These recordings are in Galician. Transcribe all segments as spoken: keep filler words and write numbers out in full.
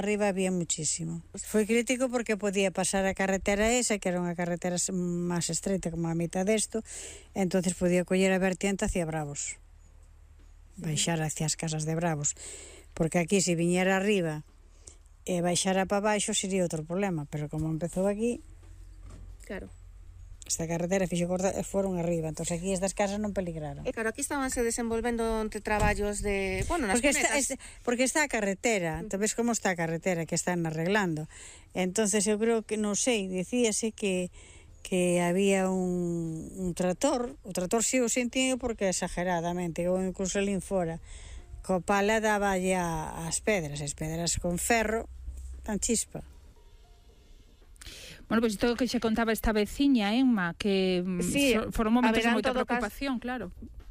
arriba había muchísimo. Foi crítico porque podía pasar a carretera esa, que era unha carretera máis estreita como a mitad desto, entonces podía coller a vertiente hacia Bravos, baixar hacia as casas de Bravos, porque aquí se viñera arriba e baixara para baixo sería outro problema, pero como empezou aquí, claro, esta carretera fixo corta e foron arriba, entón aquí estas casas non peligraron. E claro, aquí estabanse desenvolvendo entre traballos de, bueno, nas porque está, cunetas. es, porque está a carretera, entón ves como está a carretera que están arreglando. Entonces eu creo que, non sei, dicíase que que había un, un trator, o trator si o sentido porque exageradamente, ou incluso alín fora, co pala daba ya as pedras, as pedras con ferro, tan chispa. Bueno, pois pues isto que xe contaba esta veciña, Emma, que sí, so, foron momentos de moita caso, preocupación, claro.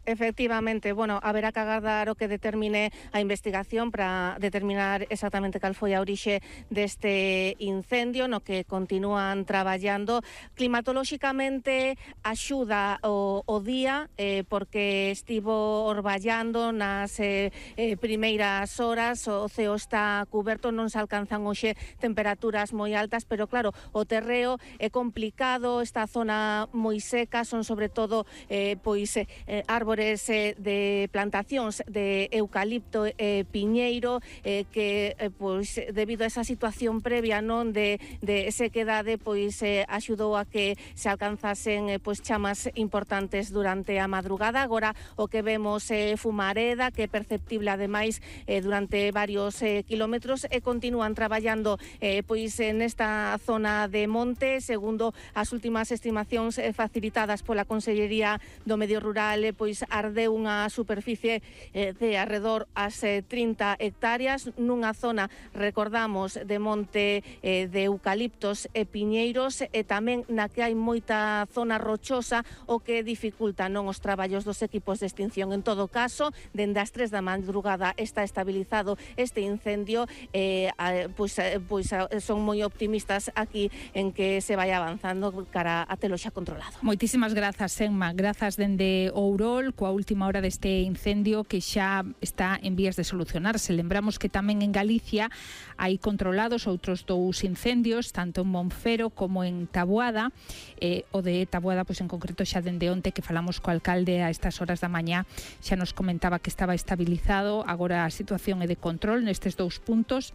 Efectivamente, bueno, haberá que agardar o que determine a investigación para determinar exactamente cal foi a orixe deste incendio no que continúan traballando. Climatolóxicamente axuda o, o día eh, porque estivo orballando nas eh, eh, primeiras horas, o ceo está cuberto, non se alcanzan hoxe temperaturas moi altas, pero claro, o terreo é complicado, esta zona moi seca, son sobre todo eh, pois eh, árboles de plantacións de eucalipto e eh, piñeiro eh, que eh, pois debido a esa situación previa non de, de sequedade pois eh, axudou a que se alcanzasen eh, pois chamas importantes durante a madrugada. Agora o que vemos é eh, fumareda que é perceptible ademais eh, durante varios eh, kilómetros e continúan traballando eh, pois nesta zona de monte, segundo as últimas estimacións eh, facilitadas pola Consellería do Medio Rural, eh, pois ardeu unha superficie eh, de arredor as eh, trinta hectáreas nunha zona, recordamos, de monte eh, de eucaliptos e piñeiros e tamén na que hai moita zona rochosa o que dificulta non os traballos dos equipos de extinción. En todo caso, dende as tres da madrugada está estabilizado este incendio e eh, pois, eh, pois, son moi optimistas aquí en que se vai avanzando cara a telo xa controlado. Moitísimas grazas, Emma, grazas dende Ourol coa última hora deste incendio que xa está en vías de solucionarse. Lembramos que tamén en Galicia hai controlados outros dous incendios, tanto en Monfero como en Taboada. Eh, o de Taboada, pois en concreto xa dende onte que falamos co alcalde a estas horas da mañá, xa nos comentaba que estaba estabilizado. Agora a situación é de control nestes dous puntos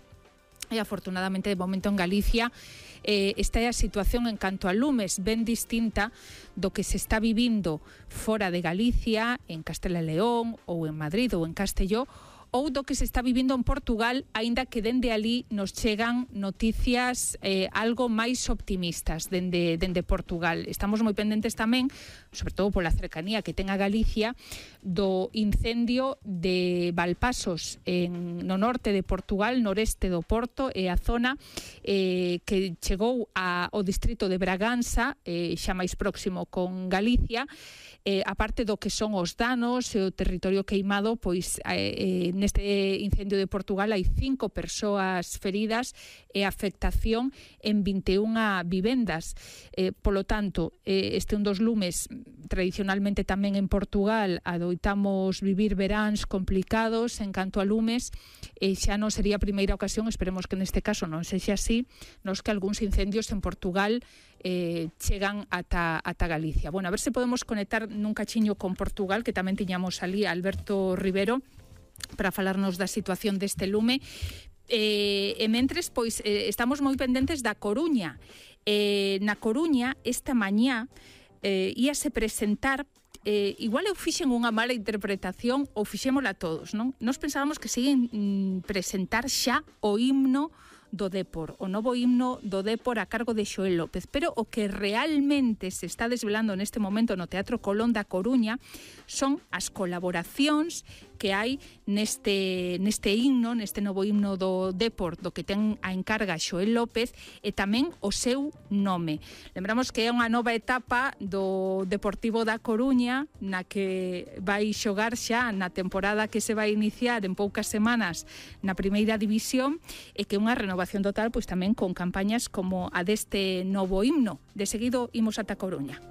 e afortunadamente de momento en Galicia Eh, esta é a situación en canto a lumes, ben distinta do que se está vivindo fora de Galicia, en Castela e León ou en Madrid ou en Castelló, ou do que se está vivindo en Portugal, aínda que dende ali nos chegan noticias eh, algo máis optimistas dende, dende Portugal. Estamos moi pendentes tamén, sobre todo pola cercanía que ten a Galicia, do incendio de Valpasos en, no norte de Portugal, noreste do Porto, e a zona eh, que chegou a, ao distrito de Braganza, eh, xa máis próximo con Galicia. Eh, aparte do que son os danos e o territorio queimado, pois eh, neste incendio de Portugal hai cinco persoas feridas e afectación en vinte e unha vivendas. Eh, polo tanto, eh, este un dos lumes tradicionalmente tamén en Portugal adoitamos vivir veráns complicados en canto a lumes, e xa non sería a primeira ocasión, esperemos que neste caso non sexa así, nos que algúns incendios en Portugal eh, chegan ata, ata Galicia. Bueno, a ver se podemos conectar nun cachiño con Portugal, que tamén tiñamos ali a Alberto Rivero para falarnos da situación deste lume. Eh, e mentres, pois, eh, estamos moi pendentes da Coruña. Eh, na Coruña, esta mañá, eh, íase presentar Eh, igual eu fixen unha mala interpretación ou fixémola todos, non? Nos pensábamos que siguen mm, presentar xa o himno do Dépor, o novo himno do Dépor a cargo de Xoel López, pero o que realmente se está desvelando neste momento no Teatro Colón da Coruña son as colaboracións que hai neste, neste himno, neste novo himno do Dépor, do que ten a encarga Xoel López, e tamén o seu nome. Lembramos que é unha nova etapa do Deportivo da Coruña, na que vai xogar xa na temporada que se vai iniciar en poucas semanas na primeira división, e que é unha renovación total, pois tamén con campañas como a deste novo himno. De seguido imos ata Coruña.